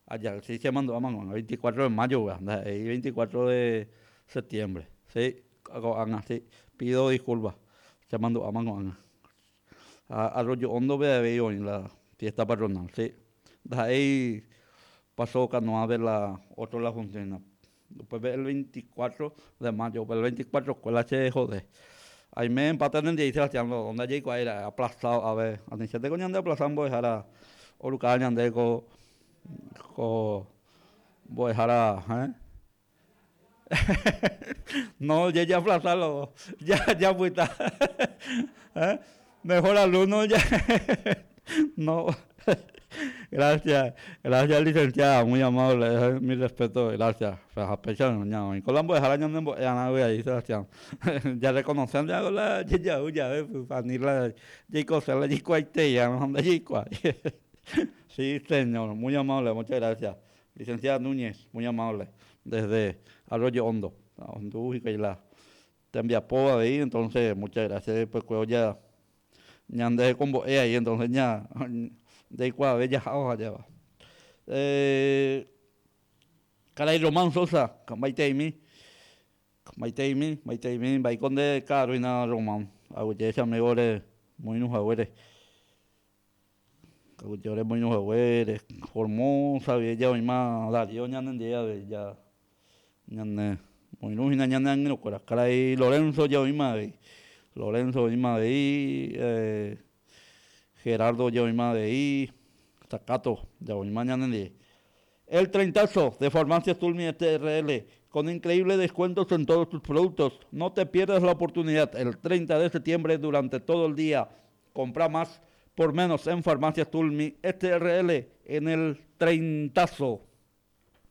Aja, sí, chemandu'áma ko'ág̃a, 24 de mayo upéva, ndaha'éi 24 de septiembre, sí, ko'ág̃a, sí, pido disculpa, chemandu'áma ko'ág̃a. Ha Arroyo Hondo-pe avei oĩ la fiesta patronal, sí, ndaha'éi Paso Canoa-pe la otro la funciona. Upépe el 24 de mayo, upe el 24 escuela che jode. Aime empate nendive Sebastián lo ndajaikuaái ra'e aplazado ave. Anichénteko ñande aplaza mbo'ehára orukáva ñande ko ko mbo'ehára eh. No jajaplaza lo japyta eh. Mejor alumno ya no gracias gracias licenciada muy amable mi respeto gracias ha péicha ñaoĩ ko la mbo'ehára ñanembo'e arã avei Sebastián ya reconoce nde la jejau jave ani la jaikose la jaikuaaitei ha ndajaikuaái sí señor muy amable muchas gracias licenciada Núñez muy amable desde Arroyo Hondo ohendu hikuái la Tembiapo avei entonces muchas gracias después oja ñande hekombo'e ahí entonces ña jaikuaave jaha ohajáva. Eh, karai Román Sosa, maiteimi, maiteimi, maiteimi, mba'éiko nde ka'aru hína Román, aguyje che amigo re moirũ haguére, aguyje ore moirũ haguére, Formosa guive ja oĩma Darío ñanendie avei ja Ñane moirũ hína ñane angirũkuéra. Karai Lorenzo je oĩma avei. Lorenzo oĩma avei, Gerardo je oĩma avei, Zacato ja oĩma ñanendive. El treintazo de Farmacias Tulmi SRL, con increíbles descuentos en todos tus productos. No te pierdas la oportunidad el 30 de septiembre durante todo el día. Compra más por menos en Farmacias Tulmi SRL en el treintazo.